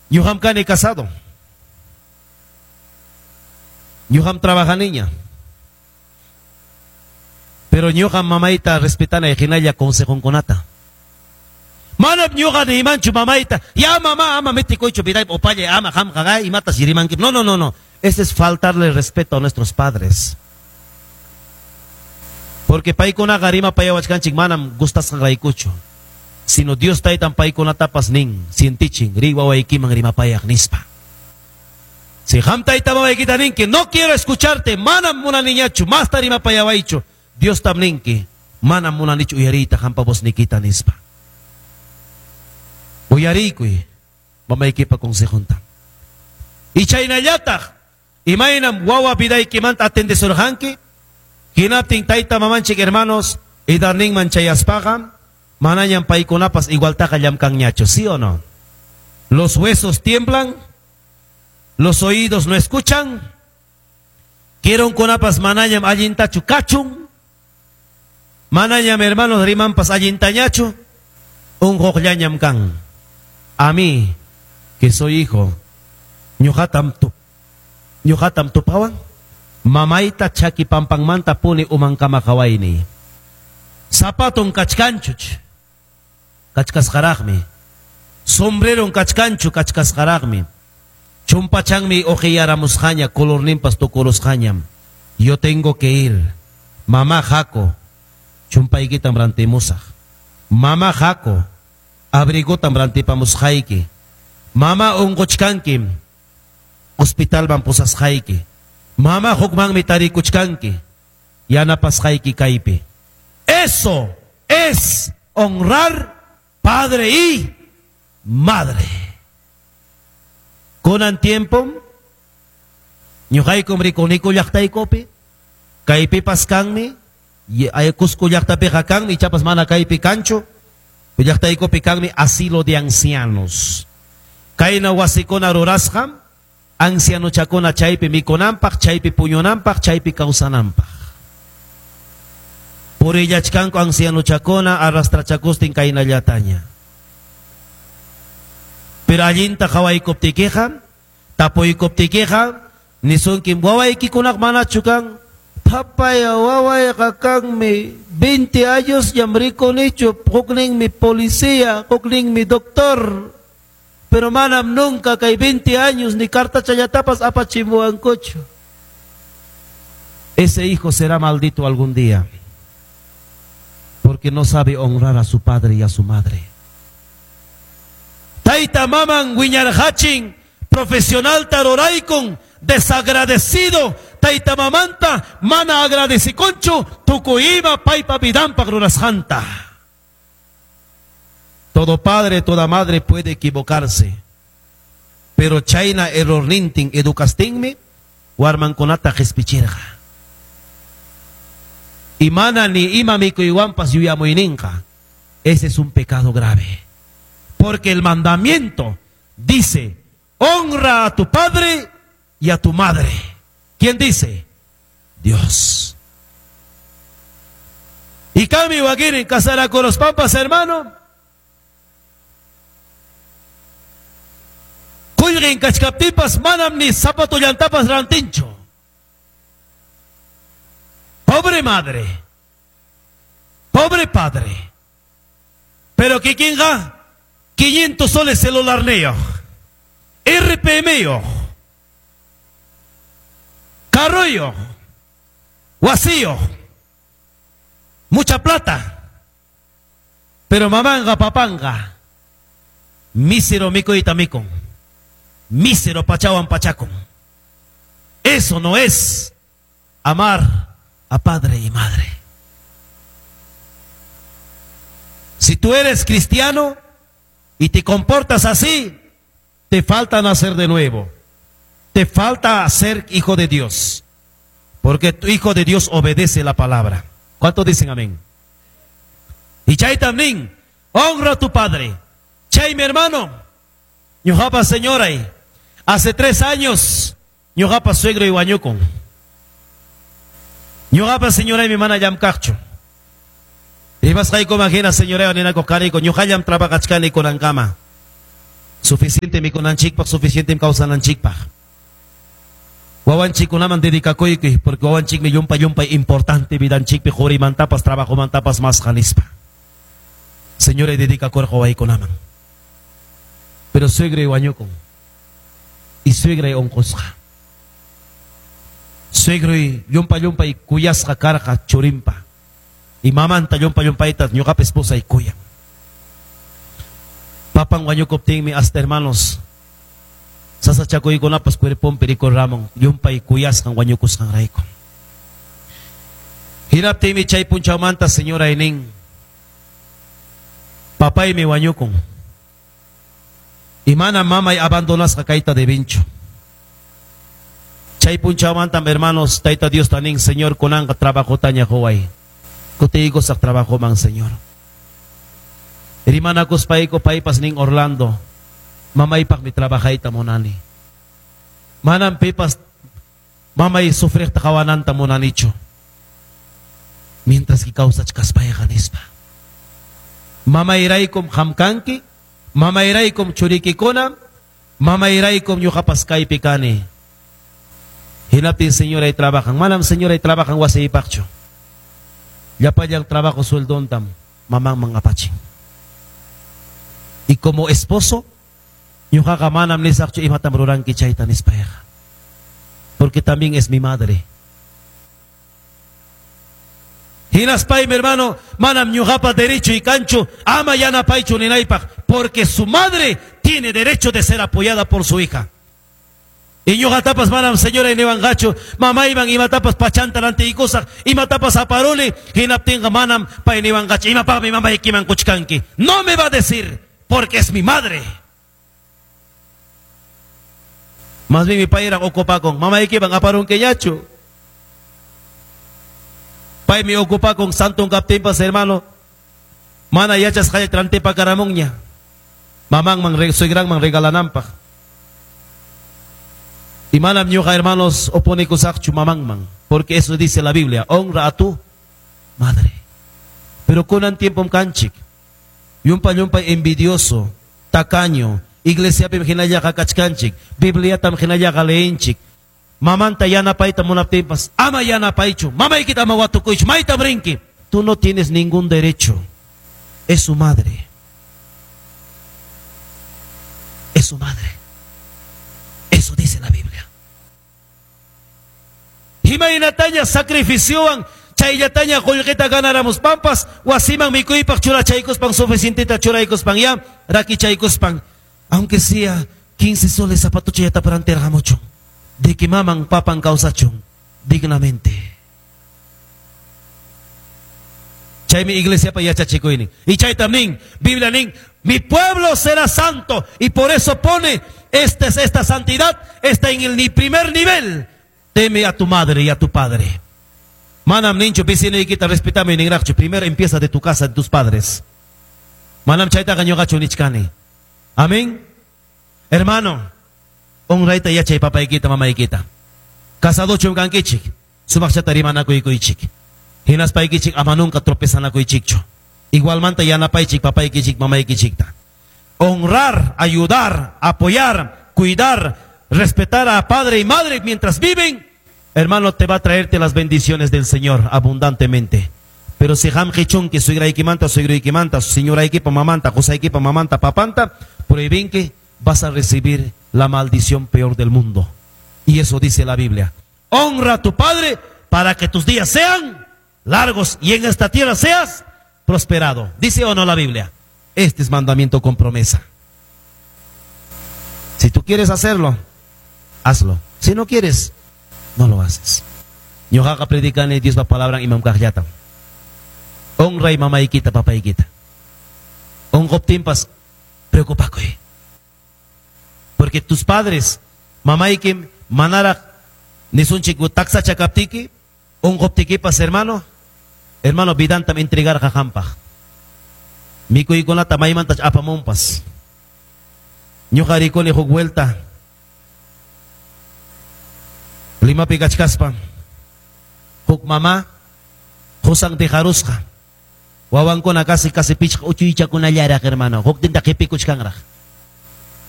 Ñuqam kani casado. Ñuqam trabajaniña. Pero ñuqam mamayta respetanay hinalla consejonkunata. Manam ñuqa niymanchu mamayta, ya mamá ama metikuychu vidaypi upallay ama qamqa imatas rimanki. No, no, no, no. Ese es faltarle respeto a nuestros padres. Porque paykunaqa rimapayawachkanchik manam gustasqanraykuchu. Sino Dios taytan paykunatapas nin, sientichin, riy wawaykiman rimapayaq nispa. Si qam tayta mamaykita ninki, no quiero escucharte, manam munaniñachu, masta rimapayawaychu. Diostam ninki, manam munanichu uyariyta qampa voznikita nispa. Uyariykuy mamaykipa consejonta. Y chaynallataq, imaynam wawa vidaykimanta atendesurqanki, hinaptin tayta mamanchik hermanos, edadninman chayaspaqa, manañam paykunapas igualtaqa llamkanñachu, ¿sí o no? Los huesos tiemblan, los oídos no escuchan, kirunkunapas manañam allintachu kachun, manañam hermanos rimanpas allintañachu, unquqllañam kan. A mí, que soy hijo, ñuqatam tupawan, mamayta chaki pampanmanta puni umankama qawayni. Zapaton kachkanchuch, kachkasqaraqmi. Sombreron kachkanchu, kachkasqaraqmi. Chumpachanmi uqiyaramusqaña, colorninpas tukurusqañam. Yo tengo que ir. Mamá haku, chumpaykitam rantimusaq. Mamá haku, abrigotam rantipamusqayki. Mamá unquchkanki, hospitalman pusasqayki. Mamá hukmanmi tarikuchkanki, yanapasqayki kaypi. Eso es honrar padre y madre. Kunan tiempo, ñuqaykum rikuniku llaqtaykupi, kaypipas kanmi, Cusco llaqtapiqa kanmi, ichapas mana kaypi kanchu, llaqtaykupi kanmi asilo de ancianos. Kayna wasikuna rurasqa, ancianochakuna chaypi mikunanpaq, chaypi puñunanpaq, chaypi kawsananpaq. Purillachkanku ancianochakuna arrastrachakustin kaynallataña. Pero allinta qawaykuptikiqa, tapuykuptikiqa, nisunkim wawaykikunaq manachu kan, Papaya wawayqa kanmi, 20 años ñam rikunichu, hukninmi policía, hukninmi doctor. Pero manam nunca kay 20 años ni cartachallatapas apachimuwankuchu. Ese hijo será maldito algún día, porque no sabe honrar a su padre y a su madre. Tayta maman wiñarqachin, profesional taroraykun, desagradecido, tayta mamanta mana agradecikunchu, tukuy ima paypa vidanpaq rurasqanta. Todo padre, toda madre puede equivocarse, pero chayna errornintin educastinmi, warmankunata qispichirqa. Y mana ni ima mikuywanpas yuyamuyninqa. Ese es un pecado grave. Porque el mandamiento dice, honra a tu padre y a tu madre. ¿Quién dice? Dios. Y Cami Wakirin casará con los pampas, hermano. Qullqin kachkaptinpas manam ni zapato llantapas rantinchu. Pobre madre, pobre padre. Pero kikinqa 500 soles celularniyuq, RPMyuq, carroyuq, wasiyuq, mucha plata. Pero mamanqa papanqa mísero mikuyta mikun, mísero pachawan pachakun. Eso no es amar a padre y madre. Si tú eres cristiano y te comportas así, te falta nacer de nuevo. Te falta ser hijo de Dios. Porque tu hijo de Dios obedece la palabra. ¿Cuántos dicen amén? Y chay también, honra a tu padre. Chay, mi hermano, ñuqapa señora, hace 3 años, ñuqapa suegro y wañukun. Ñuqapa señora y mi mana llamkaqchu. Rimasqaykuman hina señora ninakuq kaniku, ñuqallam trabajachkani kunankama. Suficiente mikunanchikpaq, suficiente kawsananchikpaq. Wawanchikkunaman dedicakuykuy, porque wawanchikmi llumpa llumpay importante vidanchikpi qurimantapas, trabajomantapas masqa nispa. Señora dedicakurqa wawaykunaman. Pero suegray wañukun. Y suegray unqusqa. Suegray llumpa llumpay kuyasqa karqa churinpa. Y mamanta llumpa llumpayta ñuqapa esposay kuyan. Papan wañukuptinmi hasta hermanos sasachakuykunapas cuerponpi rikurramun llumpay kuyasqan wañukusqanrayku. Hinaptinmi chay punchawmanta señora nin, papaymi wañukun. Y mana mamay abandonasqa kayta debinchu. Chay punchawmantam hermanos Tayta Dios nin, Señor kunanqa trabajotaña quway. Kutiykusaq trabajoman, Señor. Rimanakuspayku paypas nin Orlando, mamaypaqmi trabajayta munani. Manam pipas mamay sufriqta qawananta munanichu. Mientras que kawsachkaspayqa nispa. Mamayraykum qam kanki, mamayraykum churikikuna, mamayraykum ñuqapas kaypi kani. Hinaptin señoray trabajan. Manam señoray trabajan wasiypaqchu. Llapallan trabajo sueldontam mamanman apachin. Y como esposo, ñuqaqa manam nisaqchu imatam ruranki chayta nispayqa. Porque también es mi madre. Hinaspay, mi hermano, manam ñuqapa derecho y kanchu, ama yanapaychu ninaypaq, porque su madre tiene derecho de ser apoyada por su hija. Y ñuqatapas manam señora niwanqachu, mamayman imatapas pachanta rantiykusaq, imatapas aparuni, hinaptinqa manam pay niwanqachu, imapaqmi mamaykiman kuchkanki. No me va a decir, porque es mi madre. Más bien mi pay era ocupakun, mamaykiman aparunkiñachu. Paymi ocupakun santon kaptinpas, hermano, mana yachasqalla rantipakaramunña. Mamanman, suegranman regalananpaq. Y manam ñuqa, hermanos, oponikusaqchu mamanman, porque eso dice la Biblia, honra a tu madre. Pero kunan tiempom kanchik, llumpa llumpa envidioso, tacaño, iglesiapim hinallaqa kachkanchik, Bibliatam hinallaqa leenchik, mamanta yanapayta munaptinpas, ama yanapaychu, mamaykita ama watukuychu, maytam rinki. Tú no tienes ningún derecho, es su madre. Es su madre. Eso dice la Biblia. Imaynataña sacrificiowan chayllataña qullqita ganaramuspanpas, wasiman mikuypaq churachaykuspan suficienteta churaykuspan ya rakichaykuspan, aunque sea 15 soles zapatuchallata rantirqamuchun, de que maman papan kawsachun dignamente. Chaymi iglesiapa yachachikuynin. Y chaytam nin, Biblia nin, mi pueblo será santo, y por eso pone esta santidad está en el primer nivel. Teme a tu madre y a tu padre. Manam ninchu vecinoykita respetame ninraqchu. Primero empieza de tu casa, de tus padres. Manam chaytaqa ñuqachu nichkani. Amén. Hermano, honrayta yachay papaykita, mamaykita. Casadochum kankichik, sumaqchata rimanakuykichik. Hinaspaykichik ama nunca tropezanakuychikchu. Igualmanta yanapaychik papaykichik, mamaykichikta. Honrar, ayudar, apoyar, cuidar, respetar a padre y madre mientras viven, hermano, te va a traerte las bendiciones del Señor abundantemente. Pero si ham qichunki, suegraykimanta, suegroykimanta, señoraykipa mamanta, qusaykipa mamanta, papanta, prohibinki, vas a recibir la maldición peor del mundo. Y eso dice la Biblia. Honra a tu padre para que tus días sean largos y en esta tierra seas prosperado. ¿Dice o no la Biblia? Este es mandamiento con promesa. Si tú quieres hacerlo, hazlo. Si no quieres, no lo haces. Ñuqaqa predicani Diospa palabran imam kaqllata. Honray mamaykita, papaykita. Unquptinpas preocupakuy. Porque tus padres, mamaykim manaraq nisunchik taksacha kaptiki, unquptikipas, hermano, hermano, vidantam entregarqa qampaq. Mikuykunata maymantach apamunpas. Ñuqa rikuni huk vuelta Limapi kachkaspa huk mama qusan dejarusqa. Wawankuna casi casi pichqa uchuychakunallaraq, hermano. Huk tinta qipikuchkanraq.